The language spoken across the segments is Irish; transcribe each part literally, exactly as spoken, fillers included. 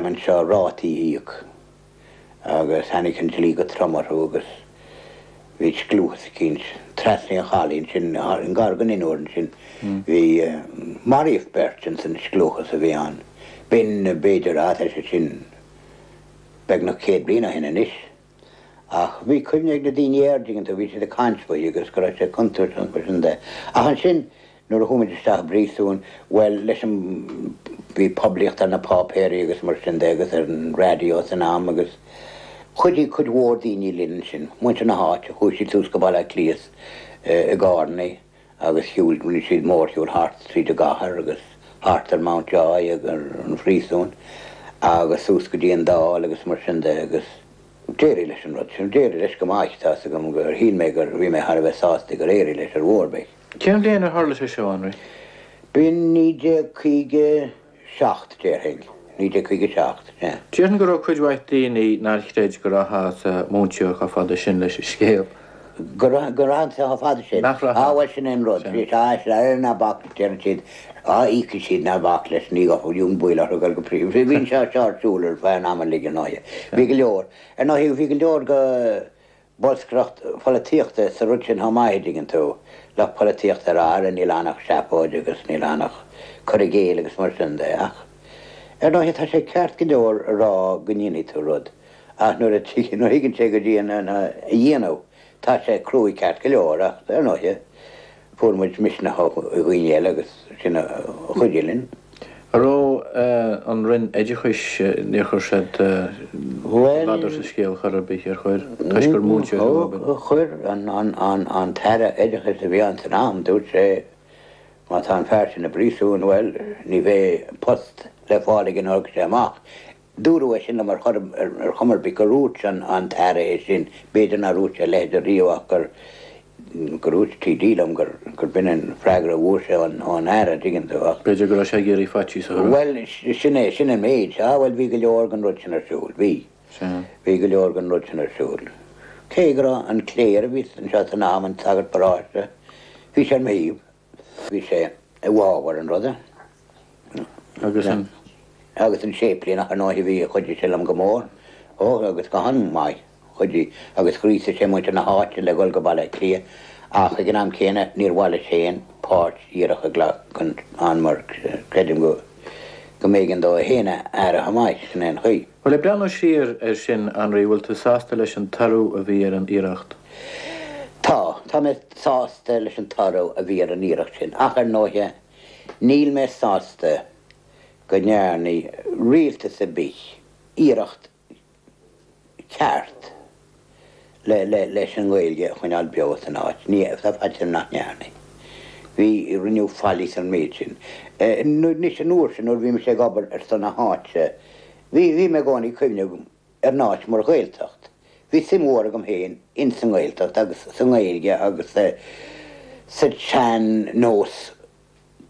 Anseo rátaí a íoc agus tháinig an dlí go trom orthu agus bhí scliúchas eicínt trasna an chalaidh ansin, i ngar don Inbhear ansin. Bhí, maraíodh beirt ins an scliúchas a bhí ann. B'in, b'fhéidir, á, tá sé sin beagnach céad bliain ó shin anois. Ach bhí cuimhne ag na daoine air, dtuigeann tú, bhí siad ag caint faoi agus go raibh sé contúirteach mar sin de. Ach ansin, nuair a chuaigh muid isteach i bpríosún, bhuel, leis an, bhí poiblíocht ar na páipéirí agus mar sin de agus ar an raidió san am agus chuidigh cuid mhór daoine linn ansin, muintir na háite, chuaigh siad suas go Baile Átha Cliath i gcarrannaí agus shiúil, rinne siad mórshiúl thart tríd an gcathair agus thart ar Mountjoy agus ar an phríosún agus suas go dtí an Dáil agus mar sin de agus d'éirigh leis an rud sin, d'éirigh leis go maith, tá's agam gur shíl mé gur, bhí mé thar a bheith sásta gur éirigh leis ar mhodh ar bith. Cén bhliain ar tharla sé seo, Anraí? B'in naoi déag caoga seacht, déarfainn, naoi déag caoga seacht, sea. Déarfainn go raibh cuid mhaith daoine nár chreid go rachfá sa Mountjoy chomh fada sin leis an scéal. Go rachainnse chomh fada sin? Nach rachfá. Á bhuel sin é an rud. Bhí sé, á sea, ná bac, deireann siad, á íocfaidh siad, ná bac leis, ní bhíonn baol orthu dul go príosún. Bhí sé seo ar siúl ar feadh an ama uilig ar ndóighe. Bhí go leor, ar ndóighe bhí go leor go bolscaireacht pholaitíochta sa rud sin chomh maith, a dtuigeann tú. Lucht polaitíochta ag rá ara níl ann ach seafóid agus níl ann ach cur i gcéill agus mar sin de. Ach ar ndóighe tá sé ceart go leor a rá go ndéanfaidh tú rud ach nuair a thigeann sé go dtí an a dhéanamh tá sé cruaidh ceart go leor ach ar ndóighe fuair muid misneach ó dhaoine eile agus sin a chuidigh linn. An raibh an Roinn Oideachais, níor chuir siad ladar sa scéal chor ar bith, ar chuir? Toisc gur múinteoir thú, ab ea? Chuir an tAire Oideachais a bhí ann san am, dúirt sé má tá an fear sin i bpríosún, bhuel, ní bheidh post le fáil aige nuair a thiocfaidh sé amach. Dúradh é sin liom ar chor ar chuma ar bith gur dhúirt an tAire é sin, b'fhéidir nár dhúirt sé a leithéid riamh ach gur gur dhúirt T D liom gur gur b'in an freagra a fuair sé ón ón Aire, an dtuigeann tú, ach. B'fhéidir go raibh sé ag iarraidh faitíos a chur ort. Bhuel, sin é, sin an méid. Ah bhuel bhí go leor den rud sin ar siúl, bhí. Sea. Bhí go leor den rud sin ar siúl. Cé go raibh an chléir a bhí anseo san am, an sagart paróiste, bhí sé ar mo thaobh. Bhí sé i bhfabhar an ruda. Agus an. Agus an séiplíneach, ar ndóigh, bhí, chuidigh sé liom go mór. Ó, agus go han-mhaith, chuidigh, agus ghríosaigh sé muintir na háite le dhul go Baile Átha Cliath, ach ag an am céanna níor mhaith leis féin páirt dhíreach a ghlacadh ann mar creidim go go mb'éigean dó é féin a fhaire chomh maith, sin é an chaoi. Bhuel, ag breathnú siar air sin, Anraí, bhfuil tú sásta leis an toradh a bhí ar an iarracht? Tá, tá mé sásta leis an toradh a bhí ar an iarracht sin, ach ar ndóighe, níl mé sásta go ndearna rialtas ar bith iarracht cheart le, le, leis an nGaeilge a choinneáil beo san áit. Ní, tá faitíos orm nach ndearna. Bhí, rinneadh faillí san méid sin. Anois an uair sin nuair a bhí mise ag obair ar son na háite, bhí, bhí mé i gcónaí ag cuimhneamh ar an áit mar Ghaeltacht. Bhí suim mhór agam féin ins an nGaeltacht agus sa nGaeilge agus sa tsean-nós,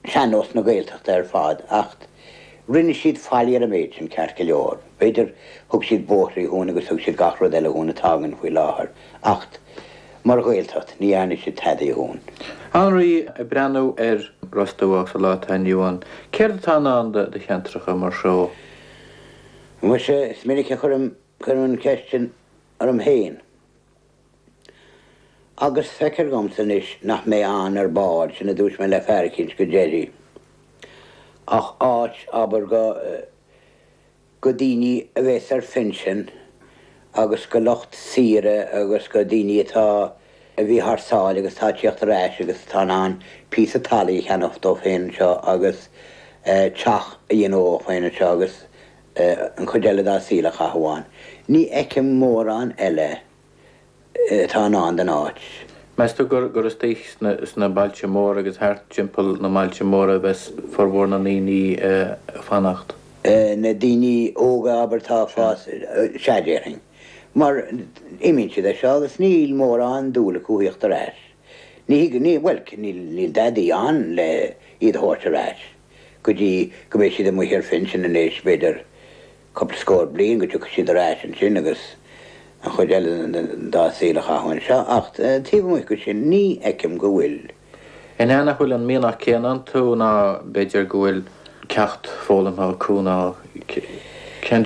sean-nós na Gaeltachta ar fad ach rinne siad faillí ar an méid sin ceart go leor. B'fhéidir thug siad bóithrí dhúinn agus thug siad gach rud eile dhúinn atá againn faoi láthair ach mar Ghaeltacht ní dhearna siad tada dhúinn. Anraí, ag breathnú ar Ros Dumhach sa lá atá inniu ann, céard atá i ndán do cheantracha mar seo? Muise, is minic a chuirim, cuirim an cheist sin orm féin. Agus feictear dhomsa anois nach mbeidh ann ar ball, sin a dúirt mé le fear eicínt go deiridh, ach áit, abair, go, go daoine a bheas ar phinsean agus go lucht saoire agus go daoine atá, a bhí thar sáile agus atá ag tíocht ar ais agus atá in ann píosa talaimh a cheannacht dóibh féin anseo agus teach a dhéanamh dóibh féin anseo agus an chuid eile dá saol a chaitheamh ann. Ní fheicim mórán eile atá i ndán don áit. Meas tú gur gur istigh sna sna bailte móra agus thart timpeall na mbailte móra a bheas formhór na ndaoine ag fanacht? Na daoine óga, abair, atá ag fás, sea, déarfainn. Mar imíonn siad as seo agus níl mórán dúil acu thíocht ar ais. Ní thig, ní, bhuel, níl, níl dadaí ann le iad a thabhairt ar ais. Go dtí go mbeidh siad amuigh ar phinsean anois, b'fhéidir cúpla scór bliain, go dtiocfaidh siad ar ais ansin agus an chuid eile dá saol a chaitheamh anseo. Ach taobh amuigh de sin, ní fheicim go bhfuil. An ea nach bhfuil an mianach céanna iontu ná b'fhéidir go bhfuil ceacht foghlamtha acu ná